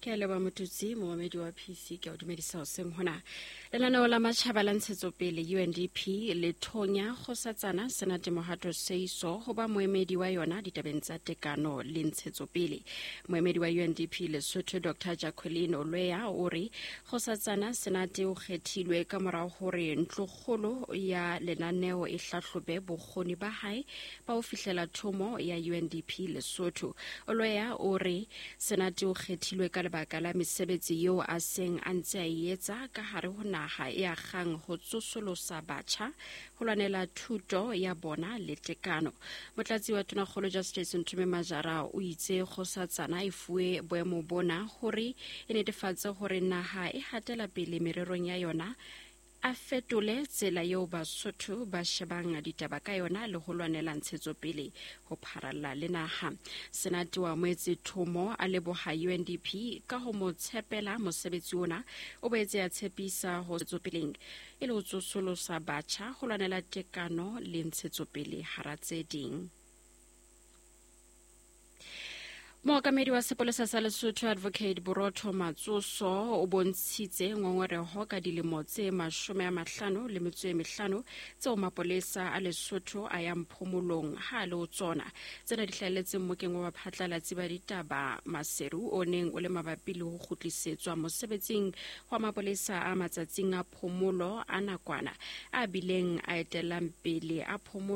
Ke a leboha Motutsi, momamedi wa PC, ke a o dumedisa hoseng hona. Lenaneo la matjhaba la ntshetsopele UNDP le thonya kgosatsana Senate Mohato Seiso ho ba moemedi wa yona ditabeng tsa tekano le ntshetsopele. Moemedi wa UNDP Lesotho Dr. Jacqueline Olweya o re kgosatsana Senate o kgethilwe ka morao hore ntlokgolo ya lenaneo e hlahlobe bokgoni ba hae ba ho fihlela thomo ya UNDP Lesotho. Olweya o re Senate o kgethilwe ka lebaka la mesebetsi eo a seng a ntse a e etsa ka hare ho naha e akgang ho tsosolosa batjha, ho lwanela thuto ya bona le tekano. Motlatsi wa Tonakgolo Justice Nthume Majara o itse kgosatsana e fuwe boemo bona hore e netefatse hore naha e hatela pele mererong ya yona a fetole tsela eo Basotho ba shebang ditaba ka yona le ho lwanela ntshetsopele ho pharalla le naha. Senate wa moetse thomo a leboha UNDP ka ho mo tshepela mosebetsi ona. O boetse a tshepisa ho tsopeleng e le ho tsosolosa batjha ho lwanela tekano le ntshetsopele hara tse ding. Mookamedi wa sepolesa sa Lesotho Advocate Borotho Matsoso o bontshitse ngongoreho ka dilemo tse 55 tseo mapolesa a Lesotho a yang phomolong ha a le ho tsona. Tsena di hlahelletse mmokeng wa baphatlalatsi ba ditaba Maseru o neng o le mabapi le ho kgutlisetswa mosebetsing wa mapolesa a matsatsing a phomolo a nakwana a bileng a etellang pele a phomolo.